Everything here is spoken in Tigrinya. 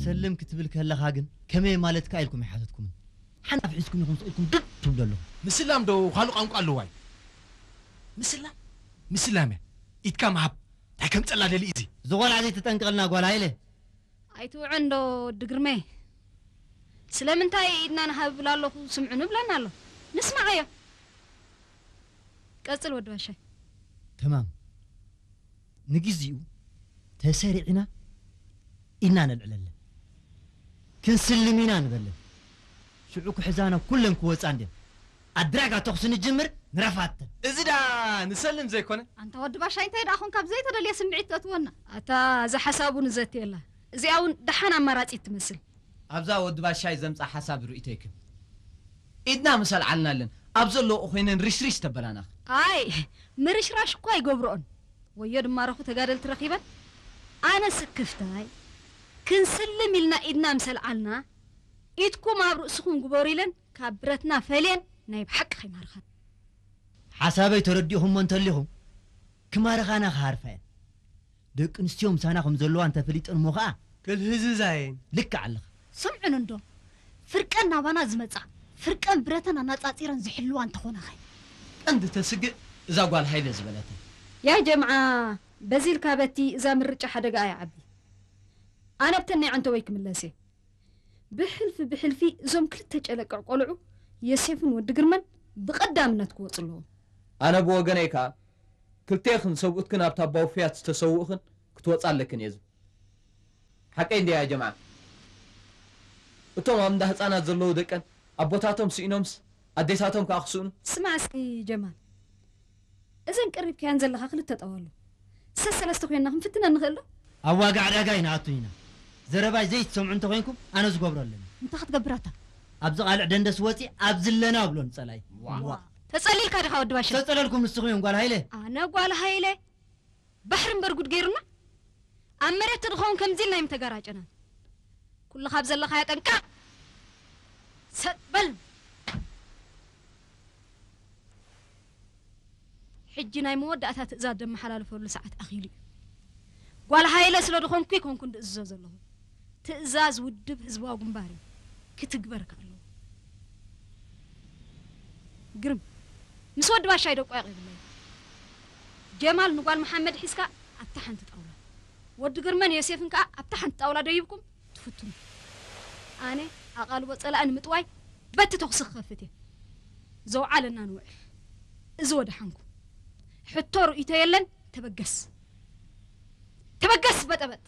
ሰልም ክትብል ከለኻ ግን ከመይ ማለትካ ኢልኩም ኣይሓተትኩምን። ሓንጣፍ ሒዝኩም ኢኹም ስቕ ኢልኩም ድድ ትብሉ ኣለኹም። ምስላም ዶ ካልእ ቋንቋ ኣለዋ እዩ? ምስላም? ምስላም እያ። ኢድካ ምሃብ። እንታይ ከም ጸላ ደሊ እዚ? እዚ ቖልዓ ዘይትጠንቀቕልና ጓል ሃይለ። ኣይትውዕን ዶ ወዲ ግርመይ? ስለምንታይ ኢድና ንሃብ እብል ኣለኹ፣ ስምዑ ንብለና ኣሎ። ንስማዓዮ። ቀጽል ወዲ ባሻይ። ተማም። ንግዜኡ ተሰሪዕና ኢድና ነልዕለለን። ክንስልም ኢና ንበለን። ሽዑ ክሕዛና ኩለን ክወጻ እንድየን። ኣድራጋ ተኹሲ ንጅምር ንረፋተን። እዚ ደኣ ንሰልም ዘይኮነ? ኣንታ ወዲ ባሻይ እንታይ ደኣ ኾንካ ብዘይተደልየ ስምዒት ተእትወና? ኣታ እዛ ሓሳቡ ንዘትየላ። እዚኣ እውን ደሓን ኣማራጺት ትመስል። ኣብዛ ወዲ ባሻይ ዘምጻ ሓሳብ ርእይቶ ይክብ። ኢድና ምሰል ዓልናለን ኣብ ዘለዎ ኮይነን ርሽርሽ ተበላናኽ። ኣይ ምርሽራሽ እኳ ኣይገብርኦን። ወዮ ድማ ረኹ ተጋደልቲ ረኺበን። ኣነ ስክፍታይ ክንስልም ኢልና ኢድና ምሰል ዓልና ኢድኩም ኣብ ርእስኹም ግበሩ ኢለን ካብ ብረትና ፈልየን ናይ ብሓቂ ከይማርኻን። ሓሳበይ ተረዲእኹሞ እንተሊኹም ክማርኻና ክሃርፋ እየን። ደቂ ኣንስትዮ ምሳና ከም ዘለዋ እንተፈሊጠን እሞ ኸኣ ክልህዝዛ እየን። ልክዕ ኣለኻ። ስምዑን እንዶ ፍርቀን ናባና ዝመጻ ፍርቀን ብረተን ኣናጻጺረን ዝሕልዋ እንተኾናኸ? ቀንዲ ተስግእ እዛ ጓል ሃይለ ዝበለትን። ያ ጀምዓ በዚ ኢልካ በቲ እዛ ምርጫ ሓደጋ እያ ዓቢ። ኣነ ብተን ናይ ዓንተወይ ክምለስ እየ። ብሕልፊ ብሕልፊ እዞም ክልተ ጨለቅዕ ቆልዑ የሴፍን ወዲ ግርመን ብቐዳምነት ክወጹ ኣለዎም። ኣነ ብወገነይ ከኣ ክልቴኽን ሰብኡትክን ኣብታ ኣባውፍያት ዝተሰውእኽን ክትወጻ ኣለክን እየ ዝብል። ሓቀይ እንድያ ያ ጀምዓ? እቶም ኣብ እንዳ ህጻናት ዘለዉ ደቀን ኣቦታቶም ስኢኖምስ ኣዴታቶም ከኣ ክስእኑ? ስማዕ እስኪ ጀማል፣ እዘን ቀሪብካየን ዘለኻ ክልተ ጠዋሉ ሰሰለስተ ኮይንና ክንፍትነን ንኽእል ዶ? ኣብ ዋጋ ዕዳጋ ኣይንኣቱን ኢና። ዘረባይ ዘይትሰምዑ እንተኾይንኩም ኣነ ዝገብሮ ኣለኒ። እንታይ ክትገብር ኣታ? ኣብዚ ቃልዕ ደንደስ ወጺ ኣብ ዝለና ኣብሎ ንጸላይ። ዋ። ተጸሊልካ ዲኻ ወዲ ባሻ? ተጸለልኩም ንስኹም እዮም ጓል ሃይለ። ኣነ ጓል ሃይለ? ባሕሪ እምበር ጉድ ገይሩና። ኣብ መሬት ተድኸውን ከምዚ ኢልና ኣይምተጋራጨናን። ኩሉ ካብ ዘለኻዮ ጠንቀቕ። ሰጥ በል። ሕጂ ናይ መወዳእታ ትእዛዝ ደመሓላልፈሉ ሰዓት ኣኺሉ እዩ። ጓል ሃይለ ስለ ዝኾንኩ ኣይኮንኩን ድእዝዞ ዘለኹ። ትእዛዝ ውድብ ህዝባዊ ግንባር እዩ። ክትግበር ከ ኣለዎ። ግርም፣ ምስ ወዲ ባሻይ ደቋይቕ የብለይ። ጀማል ንጓል መሓመድ ሒዝካ ኣብታ ሓንቲ ጣውላ፣ ወዲ ግርመን ዮሴፍን ከኣ ኣብታ ሓንቲ ጣውላ ደይብኩም ትፍትኑ። ኣነ ኣቓልቦ ጸላኢ ንምጥዋይ በቲ ተኹሲ ክኸፍት እየ። ዘውዓለና ንውዕል። እዚ ወደሓንኩም። ሕቶ ርእይቶ የለን። ተበገስ፣ ተበገስ በጠበጥ።